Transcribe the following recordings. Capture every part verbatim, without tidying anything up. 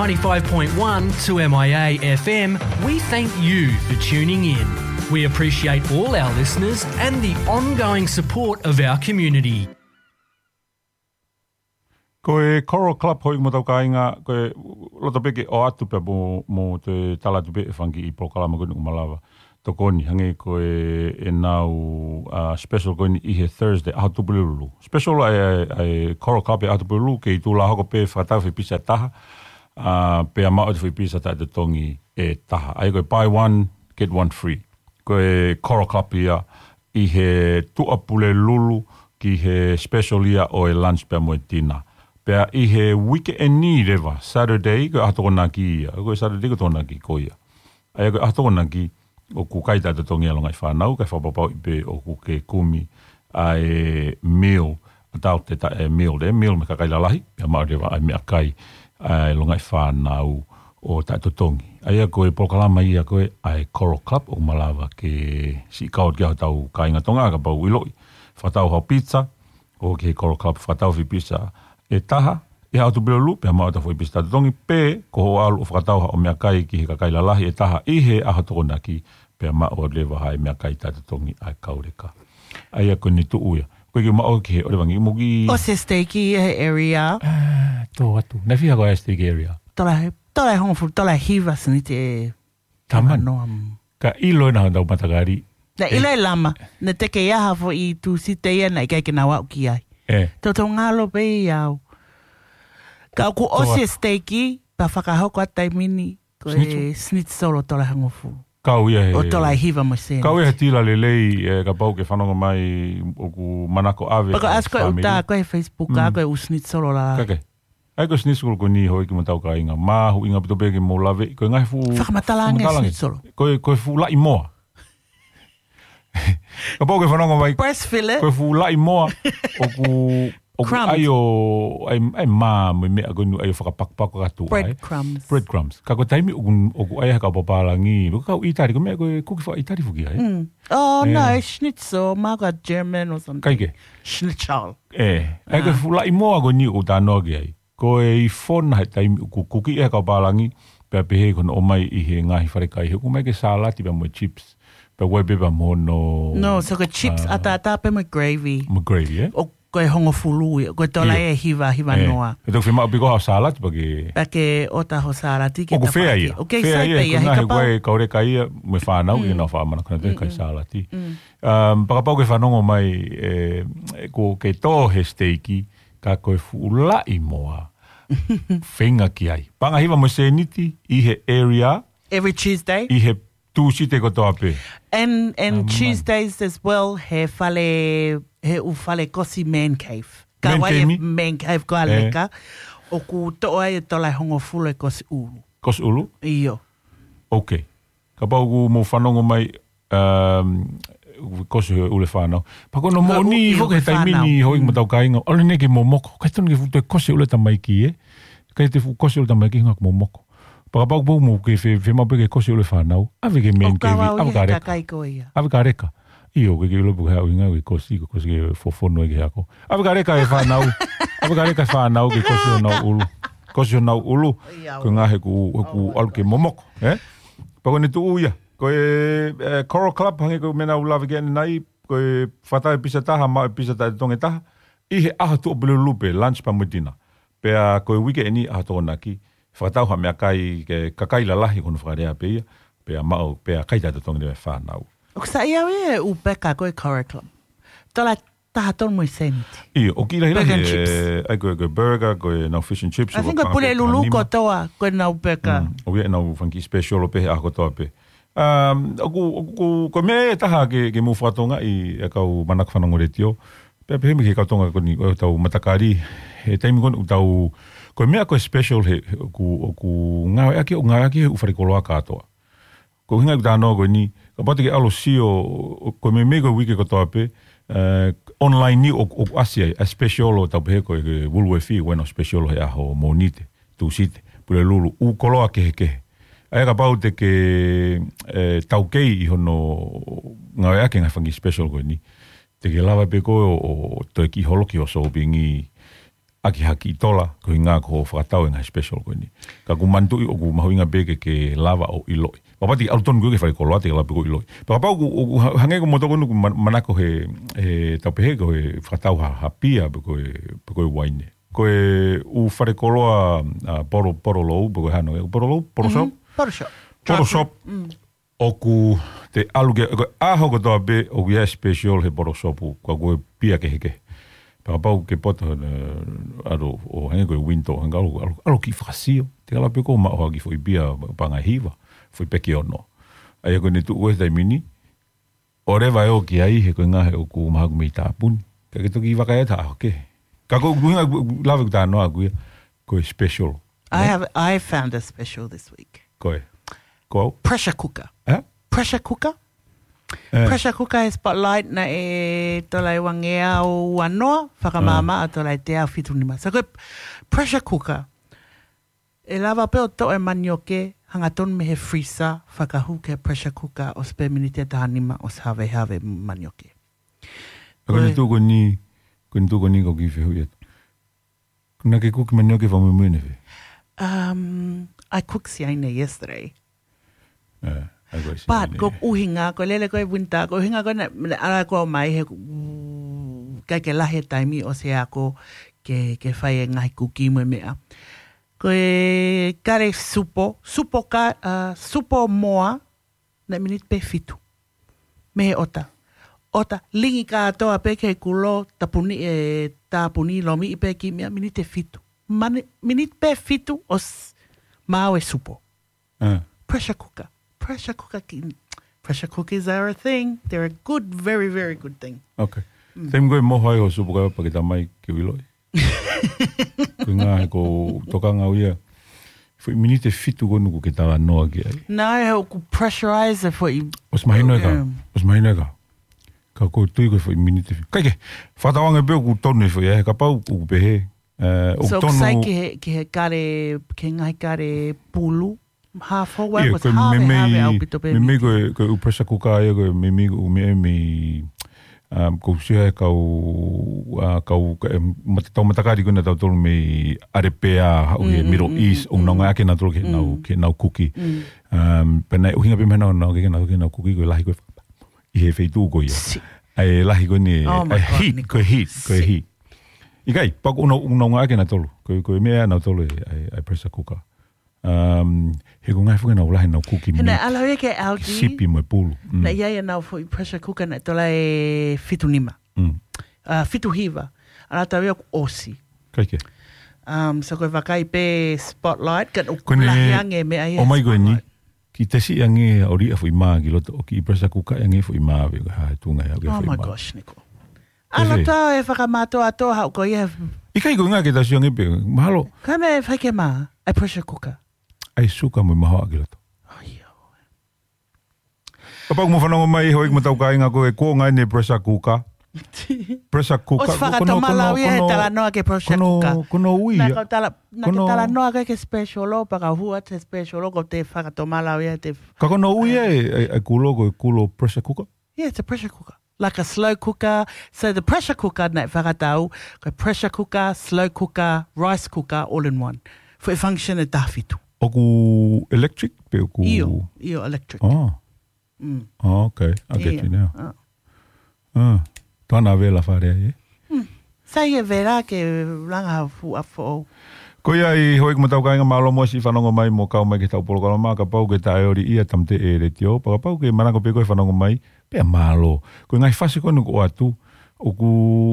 ninety-five point one two M I A F M, we thank you for tuning in. We appreciate all our listeners and the ongoing support of our community. Ko e Coral Club hoi mo tau kāinga, ko e loto pē ke ʻoatu pē mo, mo te tala atu pē e fanga kiʻi polokalama ko eni ʻoku malava tokoni, hangē ko e, ʻenau, uh, special ko eni ʻi he Thursday, ʻaho Tupulelulu. Special ʻa e, ʻa e, ʻa e Coral Club he ʻaho Tupulelulu, kei tuʻu lā hoko pē fakatau fai pisa ʻe taha, uh, pea maʻu ʻete foʻi pisa taʻetotongi ʻe taha. ʻA ia ko e buy one, get one free. Ko e Coral Club ia ʻi he Tuʻapulelulu ki he special ia ʻo e lunch pea mo e dinner. Pea ʻi he weekend leva, Saturday, ko e ʻaho Tokonaki ia. Ko e Saturday ko e Tokonaki ko ia. ʻA ia ko e ʻaho Tokonaki, ʻoku kai taʻetotongi ʻa e longaʻi fānau, kae fakapapauʻi pē ʻoku ke kumi ʻa e meal, ʻa tau te ta e meal, e meal mei he kakai lalahi, pea maʻu leva ʻa e meʻakai ʻa e longaʻi fānau ʻo taʻetotongi. ʻA ia ko e polokalama ia ko e ʻa e Coral Club ʻoku malava ke siʻi kau atu ki ai hotau kāinga Tonga kapau ʻoku ʻiloʻi. Fakatau haʻo pizza, ʻo ki he Coral Club fakatau fai pisa ʻe taha, ʻi he ʻaho Tupulelulu, pea maʻu ʻete foʻi pisa taʻetotongi, pe ko hoʻo ʻalu ʻo fakatau haʻo meʻakai ki he kakai lalahi ʻe taha ʻi he ʻaho Tokonaki, pea maʻu leva ʻa e meʻakai taʻetotongi ʻa e kau leka. ʻA ia ko eni tuʻu ia. Ko e kiʻi maʻu ki he ʻOleva Angé mo ki ʻOsi e steiki he area. Ah, tō atu. Naʻe fiha ko e steiki area? Tola he, tola e hongofulu, tola e hiva seniti e Taman. Noa. Ka ʻilo ʻe nautolu matakali. Naʻe ʻilo ʻe Lama. Naʻe teʻeki ai ha foʻi Tūsite ia naʻe ʻikai ke nau aʻu ki ai. ʻE. Toutou ngalo pē ia au. Ka ʻoku ʻosi e steiki, pea fakahoko ʻa e taimi ni, ko e Schnitzel. Schnitzel ʻo tola e hongofulu. Kau ia he ʻo tola e hiva mo e seniti. Kau ia he tila lelei, ʻe, kapau ke fanongo mai ʻoku manako ʻave. Pea ko e ʻasi ko e fāmili. Uta, ko e Facebook, Mm. ko e ʻū Schnitzel ʻo la. Kake. ʻA ia ko e Schnitzel ko eni hoi ki mo tau kāinga. Mahuʻinga ʻaupito pē ke mou lave, ko e ngaahi fuʻu Fakamatala ange fakamatala ange. Schnitzel. Ko e, ko e fuʻu laʻi moa. Kapau ke fanongo mai. Breast fillet. Ko e fuʻu laʻi moa. ʻOku, ʻoku Crumbs. ʻAi ʻo, ʻai, ʻai mā mo e meʻa ko eni ʻai ʻo fakapakupaka atu ai. Bread crumbs. Bread crumbs. Ka ko e taimi ʻoku, ʻoku ʻai ʻe he kau pālangi. Ko e kau ʻItali, ko e meʻa ko e kuki faka-ʻItali foki ai. Mm. Oh, no, ʻE. Schnitzel, maka German or something. Kae kehe. Schnitzel. ʻE, ʻa ia ko e Ah. fuʻu laʻi moa ko eni ʻoku ou talanoa ki ai. Ko e ifo na he taimi ʻoku kuki ʻe he kau pālangi, pea pehē ko hono ʻomai ʻi he ngaahi falekai, he ʻoku ʻomai ke salati pea mo e chips. Pea ʻoku ʻai pē pea mo hono No, so ko e chips, ah, ʻataʻatā pē mo e gravy. Mo e gravy, ē? ʻO ko e hongofulu ia, ko e tola ʻIo. ʻe hiva, hiva ʻE. noa. ʻE toki fiemaʻu pē ko ha salati pea ke Pea ke ʻota ho salati ke ʻOku fea tapaki. ia. ʻOku Fea sai ia, pē ia, ko e he ngaahi kapau. ko e kau leka ia, mo e fānau, Mm. ʻi heʻenau faʻa manako ʻenau kai Mm-mm. salati. Mm. Um, pea kapau ke fanongo mai, ʻe, ko ke tō he steiki, ka ko e fuʻu laʻi moa. Feinga ki ai. Paʻanga hiva mo e seniti, ʻi he area, Every Tuesday. ʻi he Tūsite kotoa pē. And, and Ah, man. Tuesdays as well, he fale, he ʻū fale kosi Man Cave. Ka Man wai e Cave? Man Cave ko ʻAleka, ʻoku toʻo ai e tola e hongofulu e kosi ʻulu. Kosi ʻulu? ʻIo. Ok. Kapau ʻoku mou fanongo mai, um, kosi e ʻulu e fānau. Pea ko hono Ko moʻoni ʻulu foki e he taimi fānau. ni hoi Mm. mo tau kāinga. ʻAlu eni ke momoko. ʻIkai tonu ke fuʻu toe kosi e ʻulu e tamaiki, ē? ʻIkai te fuʻu kosi e ʻulu e tamaiki, hangē ʻoku momoko. Pea kapau ʻoku mou ke fe-, fiemaʻu pē ke kosi e ʻulu e fānau. ʻAve ki he Man Cave, ʻoku ʻave ki he ʻAleka. kakai ko ia. ʻAve ki ʻAleka. ʻIo, ke ke ʻilo pē ko e hā e ʻuhinga ke kosi, ko e kosi ke fofono ai ki he ako. ʻAve ki ʻAleka e fānau. ʻAve ki ʻAleka e fānau ke kosi honau ʻulu. Kosi honau ʻulu. ʻIo. Ko e ngaahi ʻoku, ʻoku Oh my ʻalu ke God. momoko, ē? Pea ko eni tuʻu ia. Ko e, ʻe, Coral Club, hangē ko e meʻa naʻa ku lave ki ai ʻanenai, ko e fakatau e pisa ʻe taha, maʻu e pisa taʻetotongi ʻe taha, ʻi he ʻaho Tuʻapulelulu pē, lunch pea mo e dinner. Pea ko e uike eni ʻaho Tokonaki, fakatau ha meʻakai ki he kakai lalahi ko hono fakalea pē ia, pea maʻu, pea kai taʻetotongi leva e fānau. ʻOku sai au ia e ʻū peka ko e Coral Club. Tola taha tolu mo e seniti. ʻIo, ʻoku kiʻi lahilahi Burger and e, chips. ʻai ko e, ko e burger, ko ʻenau fish and chips, I ko think ko e panga pē Pulelulu pē nima. kotoa, ko ʻenau peka. Mm, ʻoku ʻi ai ʻenau fanga kiʻi special ʻo pehē ʻaho kotoa pē. Um, ʻoku, ʻoku, ʻoku, ko e meʻa ʻe taha ke, ke mou fakatokangaʻi e kau manako fanongo letiō. Pea pehē mai ki he kau Tonga ko eni, ʻo tau matakali, he taimi ko eni ʻoku tau, ko e meʻa ko e special he, he ʻoku, ʻoku ngāueʻaki, ʻoku ngāueʻaki he ʻū fale koloa kātoa. Ko e ʻuhinga ʻeku talanoa ko eni, kapau te ke ʻalu ʻo sio, ʻo, ko e meimei ko e uike kotoa pē, eh, online ni ʻo, ʻoku ʻasi ai, ʻa e special ʻo tau pehē ko e, ko e Woolworths, ʻoku ʻi ai ʻenau special he ʻaho Mōnite, Tūsite, Pulelulu, ʻū koloa kehekehe. ʻA ia kapau te ke, eh, taukei ʻi hono ngāueʻaki e ngaahi fanga kiʻi special ko eni, te ke lava pē koe ʻo, ʻo toe kiʻi holoki hoʻo sōpingi, ʻaki ha kiʻi tola, ko e ʻuhinga ko e fakatau e ngaahi special ko eni. Ka ʻoku ou manatuʻi ʻoku mahuʻinga pē ke, ke lava ʻo ʻiloʻi. Pea ʻoku ʻikai ke ʻalu tonu ke ʻi fale koloa, te ke lava pē ʻo ʻiloʻi. Pea kapau ʻoku, ʻoku ha-, hangē ko e motuʻa ko eni ʻoku man-, manako he, he tau pehē ko e fakatau ha, ha pia pe ko e, pe ko e uaine. Ko e ʻū fale koloa, ʻa, Polo, Polo Lou, pe ko e hano, ʻe, Polo Lou, Polo Shop? Mhm, Polo Shop. Polo Shop. Mm. ʻOku te ʻalu ki, ko e ʻaho kotoa pē ʻoku ʻi ai e special he Polo Shop, ko e pia kehekehe. Pea kapau ke poto, ʻe, ʻalu ʻo hangē ko e window, hangē ʻalu, ʻalu, ʻalu kiʻi fakasio, te ke lava pē ʻo maʻu ha kiʻi foʻi pia, paʻanga ʻe hiva, foʻi peki ʻe ono. ʻA ia ko eni tuʻu he taimi ni, ʻo leva ʻo ʻoki ai he ko e ʻuhinga he ʻoku mahalo ʻoku mei tāpuni. Ka ke toki vakai atu ha ʻaho kehe. Ka ko e ʻuhinga ʻoku lave ki ai e talanoa ko ia, ko e special. I have, I found a special this week. Ko e? Ko au? Pressure cooker. ʻE? Pressure cooker? ʻE. Pressure cooker he Spotlight naʻe tola ʻe uangeau ua noa, fakamaama ʻa tola ʻe teau fitu nima. So ko e pressure cooker, ʻe lava pē ʻo toʻo e manioke, hangatonu mei he freezer, fakahū ki he pressure cooker, ʻosi pē miniti ʻe taha nima, ʻosi havehave manioke. Ko e tuʻu ko eni, ko e tuʻu ko eni ʻoku ou kiʻi fehuʻi atu. Naʻa ke kuki manioke fakamuimui ʻanefē? Um, I cooked siaine yesterday. ʻE, I cooked siaine. But ko e ʻuhinga, ko e lele ko e winter, ko e ʻuhinga ko ē naʻe, naʻe ʻalu ko ē mai he, ʻikai ke lahi e taimi ʻosi ako ke, ke fai e ngaahi kuki mo e meʻa. Ko e kale supo, supo ka, ʻa, supo moa, naʻe miniti pē fitu. Mei he ʻota. ʻOta, lingi kātoa pē ki he kulo, tāpuni, ʻe, tāpuni lomiʻi pē kiʻi meʻa, miniti ʻe fitu. Mani-, miniti pē fitu ʻosi maau e supo. ʻE. Pressure cooker. Pressure cooker ki-, pressure cookers are a thing. They're a good, very, very good thing. Okay. Mm. Taimi ko ē ʻe moho ai hoʻo supo kae paki tamai ke u ʻiloʻi. Ko e ʻuhinga he ʻoku ou tokanga au ia. Foʻi miniti ʻe fitu ko eni ʻoku ke talanoa ki ai. Naʻe ʻoku pressurize e foʻi. ʻOsi mahino ē ka. Yeah. ʻOsi mahino ē ka. Ka ʻoku ou tui ko e foʻi miniti ʻe fitu. ʻIkai ke, fakatauange pē ʻoku tonu e foʻi, ʻe, kapau ʻoku pehē. ʻE, ʻoku tonu. So, ʻoku sai ki he, ki he kale, ki he ngaahi kale pulu. Half whole wheat ʻIo, was ko e half, meimei, half ʻaupito pē meimei meat. Ko e, ko e ʻū pressure cooker ia, ko e meimei ʻū meʻa mei, um, ʻoku ou sio he kau, ʻa, kau, ka, em, mata-, tau matakali ko ena tautolu mei ʻAlepea, haʻu he Mm, mm, Middle mm, East, mm, ʻoku nau mm. ngāueʻaki ʻe nautolu ke nau, Mm. ke nau kuki. Mm. Um, pea naʻe ʻuhinga pē meʻa naʻa nau ngāueʻaki ʻe nautolu ke nau kuki, ko e lahi ko ē ʻi he feituʻu ko ia. Siʻi. ʻA e lahi ko eni, Oh my ʻa e God, heat, Nico. ko e heat, ko e Siʻi. heat. ʻIkai, pea ʻoku nau, ʻoku nau ngāueʻaki ʻe nautolu, ko e, ko e meʻa ʻa nautolu ʻa e, ʻa e, ʻa e pressure cooker. Um, he ʻoku ngali foki ʻenau lahi ʻenau kuki He naʻe meat. ʻalu ia ki he Aldi. Sipi mo e pulu. Mm. Naʻe ʻi ai ʻenau foʻi pressure cooker naʻe tola ʻe fitu nima. Mm. ʻA, fitu hiva. ʻAlu atu ia kuo ʻosi. ʻIkai ke. Um, so ko e vakai pē Spotlight, ka ʻoku Ko eni, lahi ange meʻa ia ʻomai ko eni. Spotlight. Kiʻi tesi ange ʻo liʻaki foʻi mā ki loto, ʻo kiʻi pressure cooker ange foʻi mā ʻave, ko e hā e tuʻunga ia ʻoku ʻi ai Oh foʻi my mā. gosh, Nico. Ko e ʻAlu hē. atu ʻo fakamātoato haʻu ko ia. ʻIkai ko e ʻuhinga ke tau sio ange pē, mahalo. Ka me fai ke mā, ʻa e pressure cooker. ʻA e suka mo e mahoaʻa ki loto. Oh, ʻio. Kapau ʻoku mou fanongo mai, houʻeiki mo e tau kāinga ko e kuonga eni pressure cooker. Pressure cooker. ʻOsi Ko, ko hono, ko hono, fakatomala au ia he ko hono, talanoa ki he pressure ko hono, cooker. ko hono ui Naʻa ia. kau tala-, naʻa Ko ke hono talanoa ki he special ʻo, pea kau hū atu he special ʻo, ko te fakatomala au ia te Ka ko hono ui ʻa e, ʻa e, ʻa e kulo, ko e kulo pressure cooker? Yeah, it's a pressure cooker. Like a slow cooker. So the pressure cooker naʻe fakatau, ko e pressure cooker, slow cooker, rice cooker, all in one. Foʻi function ʻe taha fitu. ʻOku electric pe ʻoku ʻIo, ʻio, electric. Oh. Mm. Oh, okay. I get ʻIo, you now. uh. Ah. Tana vela fare ai, ē? Mm. Sai e vela ke langa ha fuʻu ʻaho foʻou. Ko ia ai, houʻeiki mo e tau kāinga, mālō muʻa siʻi fanongo mai mo kau mai ki he tau polokalama, kapau ʻoku ke taʻeoli ʻi he Tamateʻe Letiō, pea kapau ʻoku ke manako pē koe fanongo mai, pea mālō. Ko e ngaahi fasi ko eni ʻoku ʻoatu, ʻoku,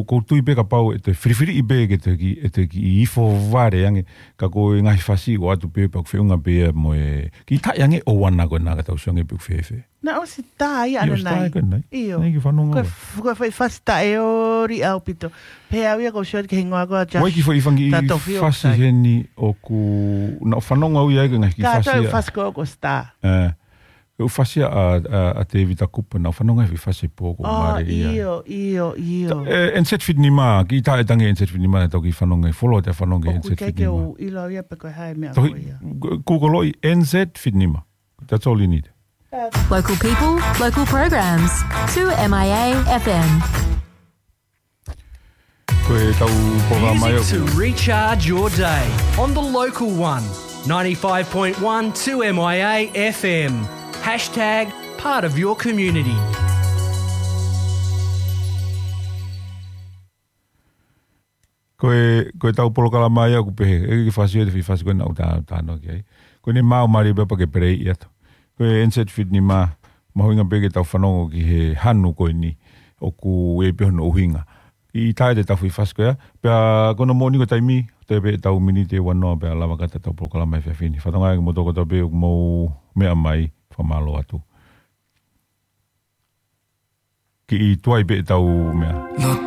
ʻoku ou tui pē kapau ʻe toe filifiliʻi pē ke toe kiʻi, ʻe toe kiʻi ifo vale ange, ka ko e ngaahi fasi ʻoku ʻoatu pē pea ʻoku feʻunga pē ia mo e, kiʻi taʻe ange ʻo ʻuana ko ena ka tau sio ange pe ʻoku fēfē. Naʻe ʻosi tā ia ʻAnanai. ʻOsi tā ia ko ʻAnanai. ʻIo. Naʻe kiʻi fanongo Ko e ai. f-, ko e foʻi fasi taʻeoli ʻaupito. Pea au ia ʻoku ou sio ki he hingoa ko ia Josh Tatofiu. Ua kiʻi foʻi fanga kiʻi fasi heni ʻoku, naʻa ku fanongo au ia ki he ngaahi kiʻi fasi ia. Ka tau fasi ko ē ʻoku ʻosi tā. ʻE. Ko e fasi ʻa, ʻa, ʻa Tevita Kupe, naʻa ku fanongo he fasi pō ko Oh, Mare ia. ʻIo, ʻio, ʻio. Ta-, ʻe, N Z fitu nima, kiʻi taʻe tangi N Z fitu nima, tau kiʻi fanongo, fuoloa te fanongo ʻOku N Z fitu nima. ʻikai ke u ʻilo ia pe ko e hā e meʻa Tohi, ko ia. Ku-, Google ʻi N Z fitu nima. That's all you need. Local people, local programs. Two M I A F M. Ko e tau polokalama ia. Music to recharge your day on the local one, ninety-five point one two M I A F M. Hashtag part of your community. Ko e, ko e tau polokalama ia ʻoku pehē, ʻe ke fasi e te fasi ko e nau tā, tā no ki ai. Ko ʻene mau mali pē pea ke pere ia to. Ko e N Z Fit ni ma, mahuʻinga pē ke tau fanongo ki he hanu ko eni, ʻoku ʻi ai pē hono ʻuhinga. ʻI tae te tau fasi ko ia, pea ko hono moʻoni ko e taimi, toe pē tau miniti ʻe ua noa pea lava kata tau polokalama he efiafi ni. Fatongia ki moutolu kotoa pē ʻoku mou meʻa mai, fakamālō atu. Kiʻi tuai pē tau meʻa.